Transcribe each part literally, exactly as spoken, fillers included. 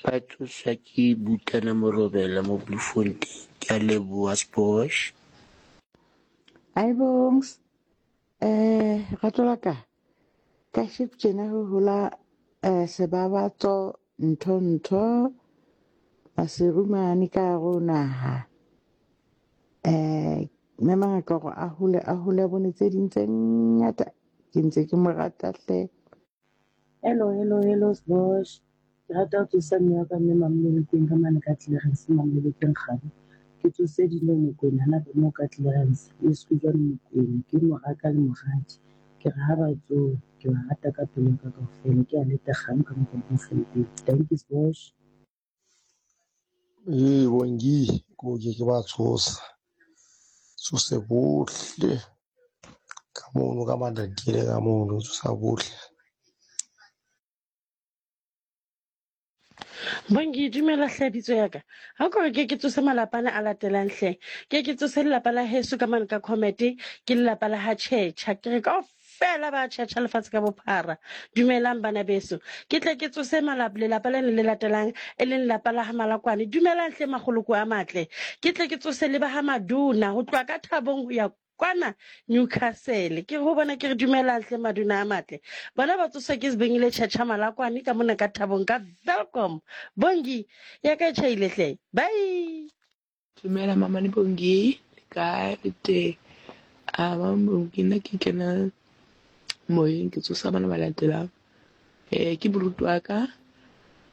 Ba tsoswa ke Butana Morobela mo Bloemfontein. Ke a leboha Sbosh. Hi Bongs. Eh rato la ka. Ka sheko tjena ho hola eh sebabatso ntho ntho Maseru mane ka hare ho naha. Eh mme mangaka hore a hole a hole a bone tse ding tse ngata. Ke ntse ke mo rata hle. Hello, hello, hello, Sbosh. Ke rata ho tsosa mme wa ka mme Mamolokeng ka mane ka Clarens, Mamolokeng Kgabo. Ke tsose Dino Mokwena hana moo ka Clarens, le Sekujwane Mokwena, ke moraka le moradi. Ke re ha ba tsoha, ke ba rata ka pelo ya ka kaofela. Ke a leta kgang ka mokgwa Bloemfontein. Thank you, Sbosh. Ee, Bongi, ko ke ke ba tshosa. Tsose bohle ka mono ka Matatiele ka mono, tsosa bohle. Bongi, dumela hle bitso ya ka. Ha ko re ke ke tsose malapa ana a latelang hle. Ke ke tsose lelapa la heso ka mane ka Comete, ke lelapa la ha Tjhetjha. Ke re kaofela ba tjhetjha lefatshe ka bophara. Dumelang bana beso. Ke tle ke tsose malapa lelapa lena le latelang e leng lelapa la ha Malakwane. Dumelang hle makgoloko a matle. Ke tle ke tsose le ba ha Maduna ho tloha ka Thabong ho ya kwana Newcastle. Ke ho bona ke re dumelang hle Maduna a matle. Bona ba tsoswa ke Sibengile Tjhetjha Malakwane ka mona ka Thabong ka Welkom. Bongi, ya ka e tjhaile hle. Bye. Dumela mamane Bongi, le kae le teng? Ah, mama Bongi, nna ke kena moyeng ke tsosa bana ba latelang. Eh, ke moruti wa ka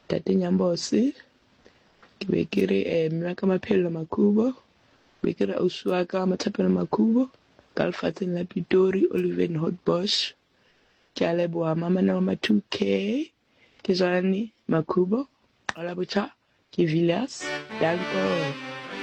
Ntate Nyambose, ke be ke re eh mme wa ka Maphello Makhubo, be ke re ausi wa ka Mathapelo Makhubo ka lefatsheng la Pitori Oliven Hotbosch. Ke a leboha mamane wa ma two K, ke Jwalane Makhubo, Qala Botjha, ke Villiers. Danko.